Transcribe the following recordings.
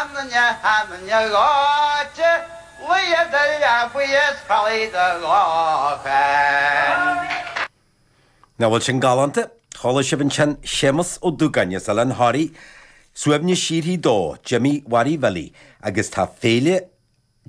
Sean-duine, shean-duine ghleoite, Luigh i do leabaidh is chodlaigh do lóchrann. Nach bhfuil sin galánta? Chuala sibh ansin Séamus Ó Dúgáin as Oileán Thoraí, suaimhneas síoraí dó, Jimí Mhary Bhilí, agus tá Féile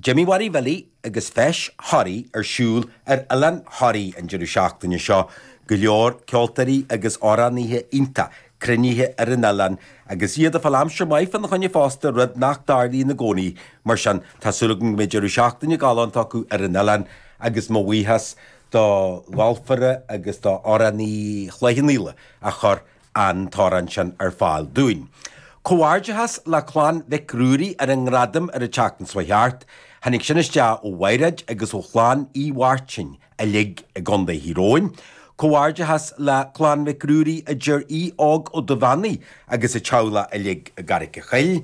Jimí Mhary Bhilí agus Feis Thoraí ar siúl ar Oileán Thoraí an deireadh seachtaine seo. Go leor ceoltóirí agus amhránaithe iontach cruinnithe ar an oileán agus iad ag fáil aimsir maith fána choinne fosta, rud nach dtarlaíonn i gcónaí. Mar sin, tá súil agam go mbeidh deireadh seachtaine galánta acu ar an oileán agus mo bhuíochas do gholfaire agus do amhránaí Chloich Cheann Fhaola a chuir an t-amhrán sin ar fáil dúinn. Comhghairdeachas le Clann Mhic Ruairí ar an ngradam ar an tseachtain seo thart. Tháinig sin isteach ó Mhaighread agus ó Chlann Uí Mháirtín uilig i gContae Thír Eoghain. Comhghairdeachas le Clann Mhic Ruairí a deir Aodh Óg Ó Duibheannaigh agus a teaghlach uilig i gCarraig a' Choill.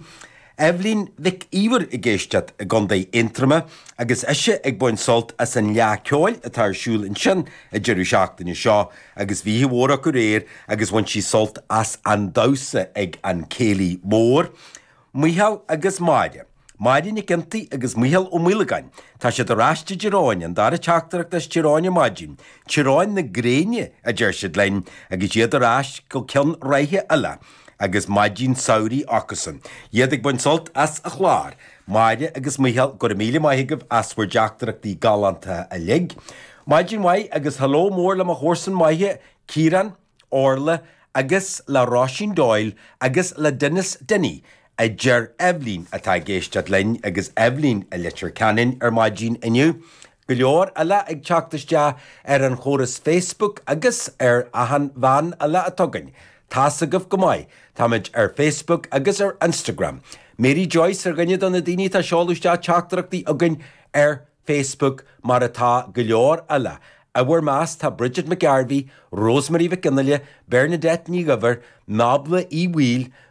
Eibhlín Mhic Íomhair ag éisteacht i gContae Aontroma agus ise ag baint sult as an Fhleadh Ceoil atá ar siúl ansin an deireadh seachtaine seo agus bhí oíche mhór acu aréir agus bhain sí sult as an damhsa ag an Céilí Mór. Micheál agus Máire. Máire Nic Fhionntaigh agus Micheál Ó Maolagáin. Tá siad ar ais i dTír Eoghain, an dara teachtaireacht as Tír Eoghain ar maidin. Tír Eoghain na gréine, a deir siad linn, agus iad ar ais go ceann ráithe eile. Agus maidin samhraidh acusan. Iad ag baint sult as an chlár. Máire agus Micheál, go raibh míle maith agaibh as bhur dteachtaireachtaí galánta uilig. Maidin mhaith agus hello mór le mo chomharsain maithe, Ciarán, Orla agus le Róisín Doyle agus le Denis Dinny, a deir Eibhlín atá ag éisteacht linn agus Eibhlín i Leitir Ceanainn ar maidin inniu. Go leor eile ag teacht isteach ar an chóras Facebook agus ar achan mheán eile atá againn. Tá's agaibh go maith, táimid ar Facebook agus ar Instagram. Mary Joyce ar dhuine de na daoine atá ag seoladh isteach teachtaireachtaí chugainn ar Facebook mar atá go leor eile. I bhur measc tá Bridget McGarvey, Rosemary Mhic Fhionnaile, Bernadette Ní Dhuibhir, Nábla Uí Bhaoill,